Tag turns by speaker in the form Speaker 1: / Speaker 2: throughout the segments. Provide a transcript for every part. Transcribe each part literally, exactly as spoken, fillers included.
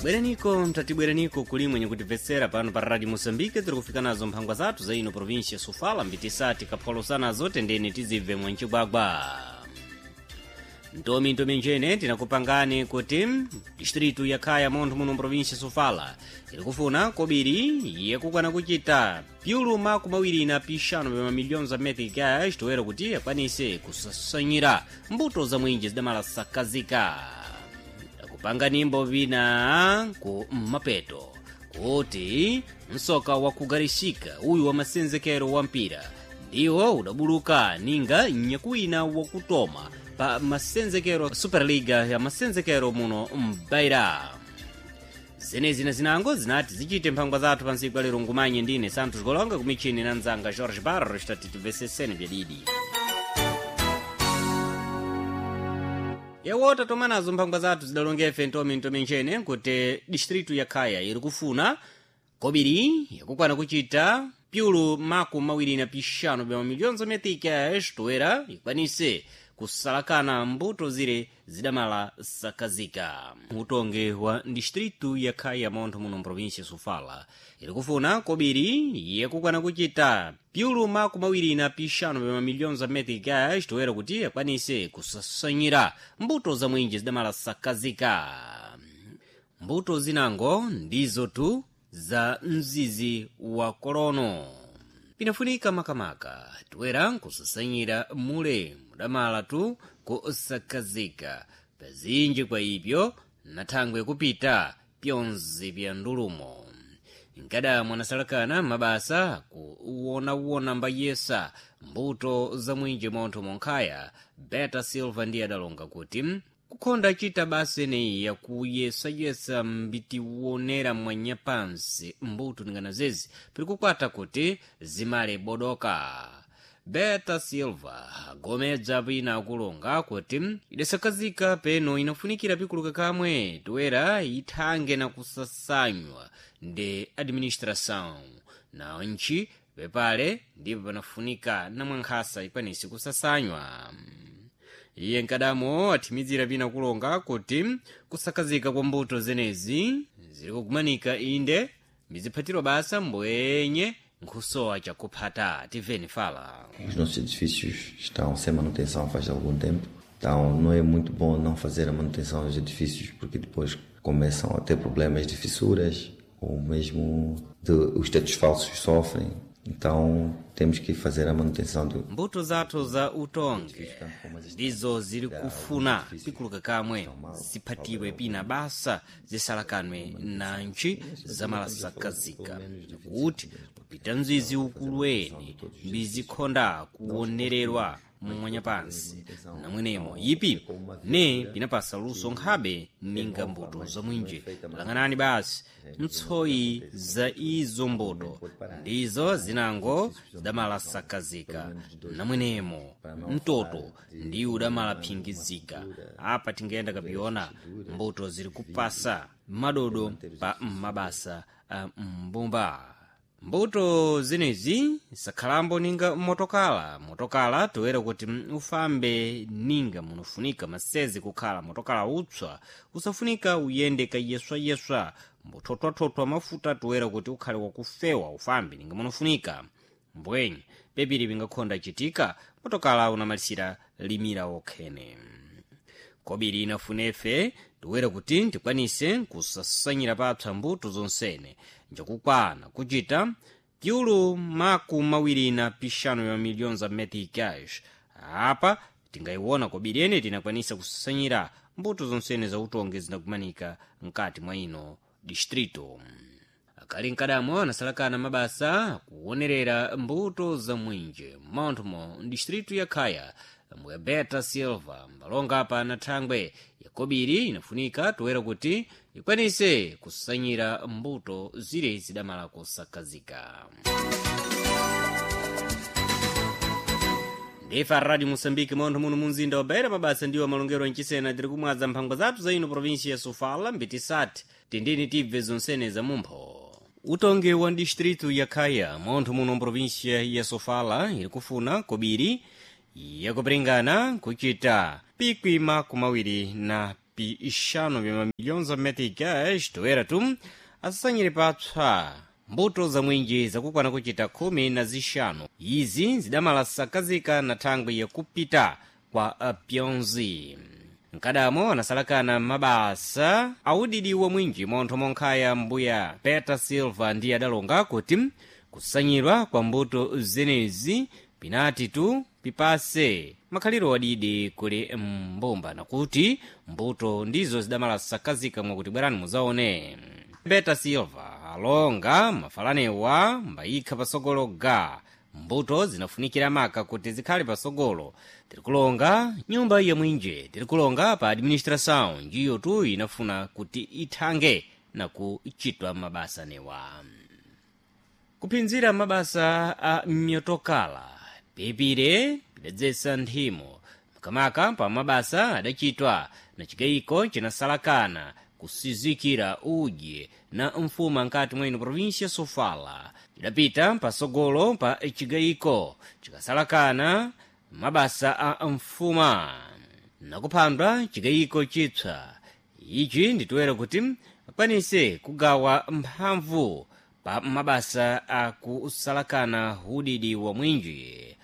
Speaker 1: Bwereniko mtatibwereniko kulimwe nyakutibvetsera pano pa Radio Moçambique. Tiri kufika nazo mphangwa zathu za ino província Sofala, mbitisati kapholosana tendeni tizibve mwancigwagwa. Ntomi ntomi njene tinakupangani kuti distritu ya Khaya montho muno mprovinsia Sofala iri kufuna kobiri yakukwana kuchita pyulu makumi awiri na pixanu pa mamilhões za meticais, toera kuti akwanise kusasanyira mbuto za mwinji zidamala sakazika. Akupanga nimbo vina ku mapeto kuti msoka wakugarisika uyu wa masenzekero wa mpira ndiwo udabuluka ninga nyakuwina wakutoma pa masenzekero Superliga ya masenzekero muno mbaira. Zenezi na zinango zinati zichite mphangwa zathu pa ntsiku lero. Ngumanye ndine Santos Golonga, kumichini na mzanga Jorge Barros, tati tibveseseni byadidi yawota tomanazo mphangwa zathu zidalongefe ntomi ntomi nchene kuti distritu ya Khaya iri kufuna kobiri yakukwana kuchita pyulu makumi mawiri na pixanu bya mamilhões za meticais, toera ikwanise kusalakana mbuto zire zidamala sakazika. Utonge wa distritu ya Khaya montho muno mprovinsia Sofala iri kufuna kobiri yakukwana kuchita pyulu makumi awiri na pixanu bya mamilhões za meticais, toera kuti akwanise kusasanyira mbuto za mwinji zidamala sakazika. Mbuto zinango ndizo tu za mzizi wa kolono pinafunika makamaka toera nkusasanyira mule mudamala tu kusakazika pazinji kwa ipyo na thangwe kupita pyonse pya ndulumo. Nkada mwanasalakana mabasa kuwonawona mbayesa mbuto za mwinji montho monkhaya, Beta Silva ndiye adalonga kuti kukhonda chita basa eneyi yakuyesayesa mbitiwonera mwanyapansi mbuto ningana zezi pili kukwata kuti zimale bodoka. Beta Silva agomedza pina akulonga kuti idasakazika peno inafunikira pikuluka kamwe toera ithange na kusasanywa ndi administração na ntchi pepale ndipo panafunika namwankhasa ikwanise kusasanywa. Iye nkadamo athimizira pina kulonga kuti kusakazika kwa mbuto zenezi ziri kugumanika inde mbiziphatiro basa mbwenye nkhusowa chakuphata. Tiveni fala.
Speaker 2: Os nossos edifícios estão sem manutenção faz algum tempo, então não é muito bom não fazer a manutenção dos edifícios, porque depois começam a ter problemas de fissuras ou mesmo de, os tetos falsos sofrem. Então temos que fazer a manutenção do
Speaker 1: Mbuto zathu za utonge ndizo ziri kufuna pikuluka kamwe ziphatiwe pina basa zisalakanwe na ntchi zamalasakazika, kuti kupita mzizi ukuluweni mbizikhonda kuwonererwa mumwanyapansi namwenemo ipi ne pinapasa luso nkhabe ninga mbuto za mwinji. Lang'anani basi ntsoyi za izo mbuto ndizo zinango zidamalasakazika, namwenemo mtoto ndi udamalaphingizika. Apa tingayenda kapiona mbuto ziri kupasa madodo pa mabasa a mbumba. Mbuto zenezi sakhalambo ninga motokala motokala toera kuti ufambe ninga munofunika masezi kukhala motokala utswa usafunika uyende kayeswayeswa mbuthothwathotwa mafuta toera kuti ukhale wakufewa ufambe ninga munofunika. Mbwenye pepiri pingakhonda chitika motokala unamalisira limira okhene. Kobiri inafunefe toera kuti tikwanise kusasanyira papsa mbuto zonsene njakukwana kuchita pyulu makumi mawiri na pixanu ya milhões za meticais. Apa tingayiwona kobiri ene tinakwanisa kusasanyira mbuto zonsene za utonge zinakumanika mkati mwa ino distrito. Akali nkadamo anasalakana mabasa kuwonerera mbuto za mwinje monthomo distritu ya Khaya, mbwe Beta Silva mbalonga apa na thangwe yakobiri inafunika toera kuti ikwanise kusanyira mbuto zire zidamala kusakazika. Ndifa Radio Moçambique montho muno munzinda wa Beira, mabasa ndiwo malongero anchisena. Tiri kumwadza mphangwa zathu za ino província ya Sofala mbitisati tindini tibve zonsene za mumpho. Utongi wa distritu ya Khaya montho muno mprovíncia ya Sofala iri kufuna kobiri yakupiringana kuchita pikwi makumi awiri na pi pixanu bya mamilhões za meticais toera tu asasanyire papsa mbuto za mwinji zakukwana kuchita khumi na zixanu izi zidamalasakazika na thangwi yakupita kwa uh, pyonzi mkadamo anasalakana mabasa audidi wa mwinji montho monkhaya mbuya Peter Silva ndiye adalonga kuti kusanyidwa kwa mbuto zenezi pinati tu pipase makhaliro adidi kuli mbumba nakuti mbuto ndizo zidamalasakazika mwakuti bwerani muzaone. Peter Silva alonga mafalanewa mbayikha pasogolo ga mbuto zinafunikira maka kuti zikhale pasogolo. Tirikulonga nyumba ya mwinje tirikulonga pa administração njiyo tu inafuna kuti ithange na kuchitwa mabasa newa kuphinzira mabasa a myotokala pipire pidadzesa nthimo makamaka pa mabasa adachitwa na chikayiko chinasalakana kusizikira udye na mfuma nkati mwene província Sofala chidapita pasogolo pa chigayiko chikasalakana mabasa a mfuma nakuphandwa chigayiko chipsa ichi nditoera kuti akwanise kugawa mphamvu pa mabasa akusalakana udidi wa mwinji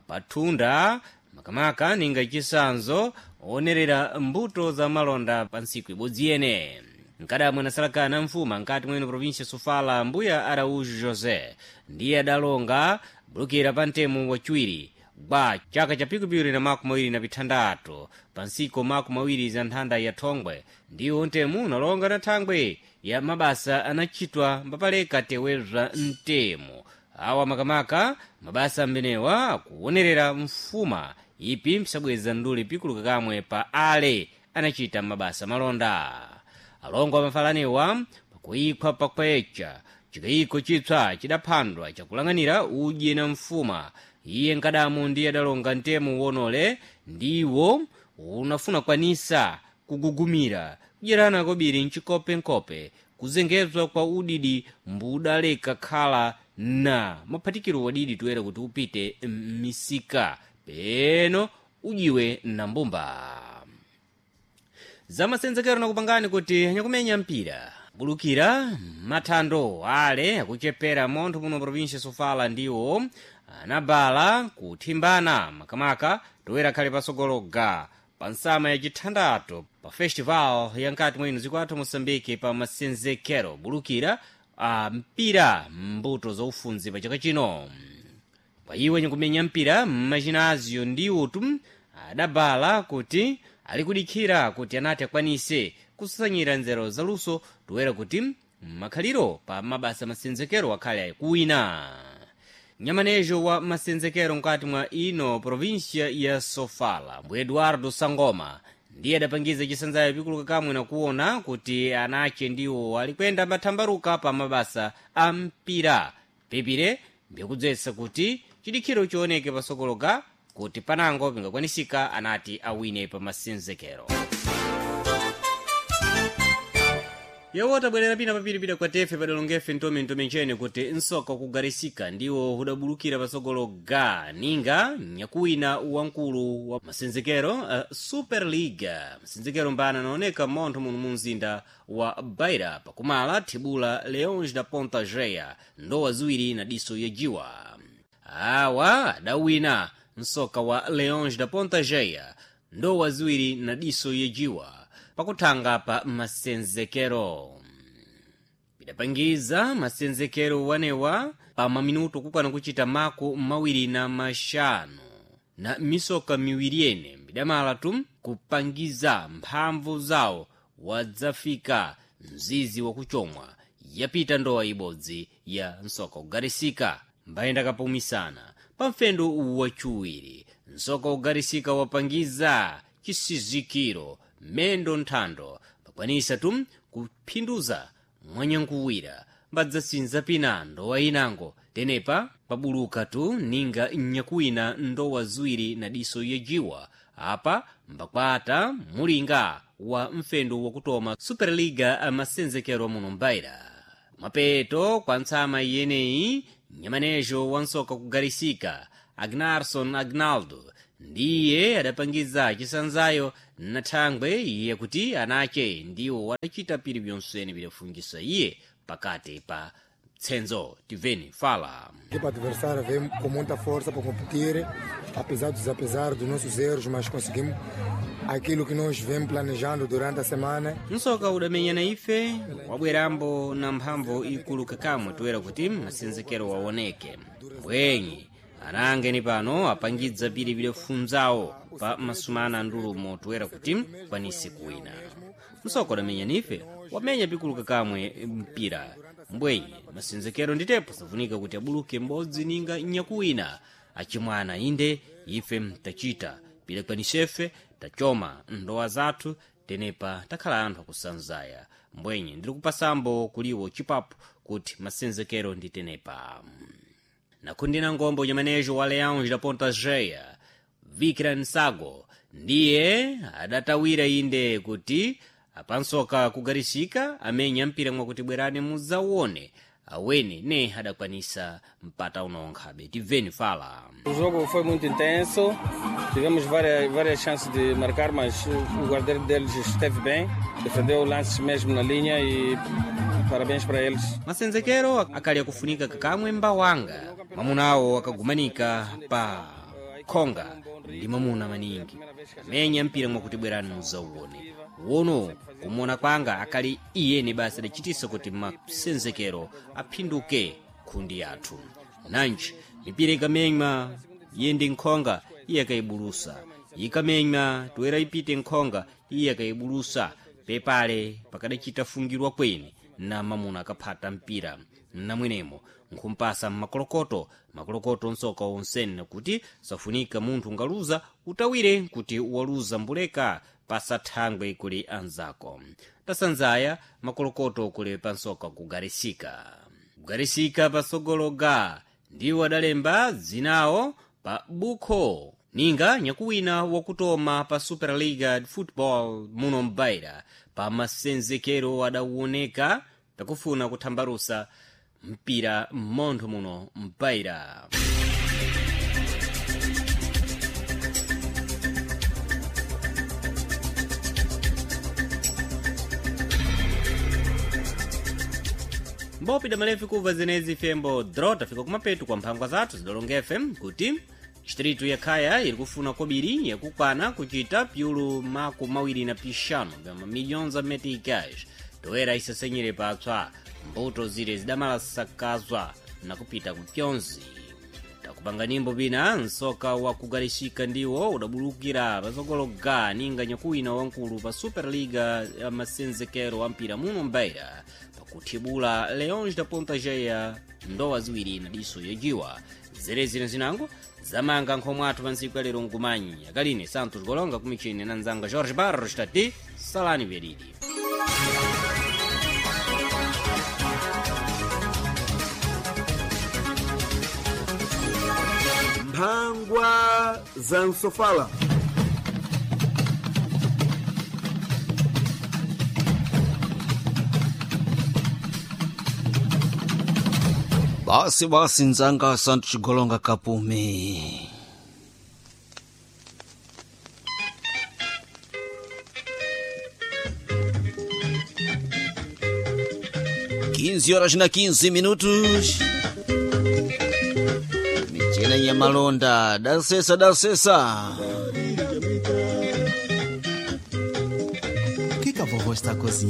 Speaker 1: pathunda makamaka ninga chisanzo onerera mbuto za malonda pa ntsiku ibodzi yene. Mkadamwe anasalakana mfuma nkati mwene província Sofala mbuya Araújo José ndiye adalonga bulukira pa ntemu wachiwiri gwa chaka cha pikupiri na makumi awiri na pithandatu pa ntsiku makumi awiri za nthanda ya thongwe ndiwo ntemu unalonga na thangwe ya mabasa anachitwa mbapaleka tewezwa mtemu awa makamaka mabasa amenewa akuonerera mfuma ipi msabweza nduli pikuluka kamwe pa ale anachita mabasa malonda. Alongo amafalanewa pakuikhwa pakwecha chikayiko chipsa chidaphandwa chakulang'anira udye na mfuma iye nkadamu ndiye adalonga ntemu wonole ndiwo unafuna kwanisa kugugumira kudyerana kobiri mchikopenkope kuzengezwa kwa udidi mbudaleka khala na maphatikiro wadidi toera kuti upite m'misika peno ujiwe na mbumba. Zamasenzekero nakupangani kuti anyakumenya mpira bulukira mathando ale akuchepera montho muno província Sofala ndiwo anabala kuthimbana makamaka toera khale pasogolo ga pa nsama yacithandathu pa festival ya nkati mwino zikwathu Moçambique pa masenzekero bulukira a mpira mbuto zaufunzi pa chaka chino. Pa iwe nyikumenya mpira mmachinazio ndiwotu adabala kuti ali kudikhira kuti anati akwanise kusasanyira nzeru zaluso toera kuti makhaliro pa mabasa masenzekero akhale akuwina. Nyamanejo wa masenzekero mkati mwa ino província ya Sofala mbu Eduardo Sangoma ndiye adapangiza chisanzayo pikuluka kamwe nakuona kuti anache ndiwo alikwenda mathambaruka pa mabasa a mpira pipire mbikudzesa kuti chidikhiro chioneke pasokoloka kuti panango pingakwanisika anati awine pa masenzekero. Yewo tabwerera pina papiripira kwa tefe padalongefe ntomentome nchene kuti nsoka kugarisika ndiwo hudabulukira pasogolo ga ninga nyakuwina wamkulu wa masenzekero uh, Super League masenzekero mbana anaoneka montho muno mu mzinda wa Beira pakumala thibula Leões da Ponta Geia ndowa ziwiri na diso yajiwa. Awa adawina msoka wa Leões da Ponta Geia ndowa ziwiri na diso yajiwa pakuthanga pa masenzekero. Pidapangiza masenzekero wanewa pa maminuto kukwana kuchita maku mawiri na maxanu na misoka miwiri yene mbidamala tu kupangiza mphamvu zawo wadzafika mzizi wakuchomwa yapita ndowa ibodzi ya msoka kugarisika mbayenda kapumisana pa mfendo wachiwiri msoka kugarisika wapangiza chisizikiro mendo nthando pakwanisa tu kuphinduza mwanyankuwira mbadzasinza pina ndowa inango tenepa pabuluka tu ninga nyakuwina ndowa ziwiri na diso yajiwa apa mbakwata mulinga wa mfendo wakutoma Superliga amasenzekero muno mbaira. Mapeto kwa ntsama iyeneyi nyamanejo wa nsoka kugarisika Agnarson Agnaldo Ndiye adapangiza chisanzayo na thangwe iye kuti anache ndiwo wadachita piri byonsene bidafungisa iye pakati pa tsenzo. Tiveni fala.
Speaker 3: A equipa adversária vem com muita força para competir, apesar dos apesar dos nossos erros, mas conseguimos aquilo que nós vem planejando durante a semana.
Speaker 1: Msoka udamenyana ife wabwerambo na mphamvu ikulu kakamwe toera kuti masenzekero waoneke mbwenyi anangeni pano apangidza piri bidafunzawo pa masumana ndulumo toera kuti kwanise kuwina. Msoka udamenya ife wamenya pikulu kakamwe mpira mbwenyi masenzekero nditepo safunika kuti abuluke m'bodzi ninga nyakuwina achimwana inde ife tachita pidakwanisefe tachoma ndowa zathu tenepa takhala anthu akusanzaya mbwenyi ndiri kupasambo kuliwo chipapo kuti masenzekero ndi tenepa. Nakhundina ngombo nyamanejo wa Leões da Ponta Geia Vikran Sago ndiye adatawira inde kuti apansoka kugarisika amenya mpira mwakuti bwerani mudzawone awene ne adakwanisa mpata unonkhabe. Tiveni fala.
Speaker 4: O jogo foi muito intenso, tivemos várias, várias chances de marcar, mas o guarda-redes deles esteve bem, defendeu lances mesmo na linha e parabéns para eles.
Speaker 1: Masenzekero akali akufunika kakamwe mbawanga mamunawo akagumanika pa khonga ndi mamuna maningi amenya mpira mwakuti bwerani mudzauone wono kumona kwanga akali iyeni basi adachitisa kuti masenzekero aphinduke khundi yathu nanji mipira ikamenywa iye ndi nkhonga iye akayibulusa ikamenywa toera ipite nkhonga iye akayibulusa pepale pakadachita fungirwa kweni na mamuna akaphata mpira namwenemo nkhumpasa mmakolokoto makolokoto nsoka onsene kuti safunika munthu ngaluza utawire kuti waluza mbuleka pasathangwe kuli anzako. Tasanzaya makolokoto kuli pansoka kugarisika kugarisika pasogologa ndiwo adalemba dzinawo pa bukho ninga nyakuwina wakutoma pa Superliga Football muno mbaira pa masenzekero adawoneka pakufuna kuthambalusa mpira m'montho muno mbaira. Mbopi damalefi kuva zenezi fembo dro tafika kumapetu kwa mphangwa zathu zidolongefe kuti distritu ya Khaya iri kufuna kobiri yakukwana kuchita pyulu maku mawiri na pixanu bya mamilhões a meticais toera isasenyere patswa mbuto zire zidamalasakazwa na kupita ku pyonzi. Takupanga nyimbo pina nsoka wa kugalishika ndiwo udabulukira patsogolo ninga nyakuwina wankulu pa Superliga ya masenzekero wa mpira muno mbaira pakuthibula Leões da Ponta Geia ndowa ziwiri na diso yajiwa. Zerezino zinango zamanga nkhomwe athu pa ntsiku ya lero nkumanyi akaline Santos Golonga kumichini na nzanga Jorge Barros tati salani veridi.
Speaker 5: Mphangwa za msofala.
Speaker 6: Basi basi nzanga Santos Chigolonga kapume. Quinze horas na quinze minutos. Michena ya malonda dasesa dasesa.
Speaker 7: O que, que a vovó está cozinhando?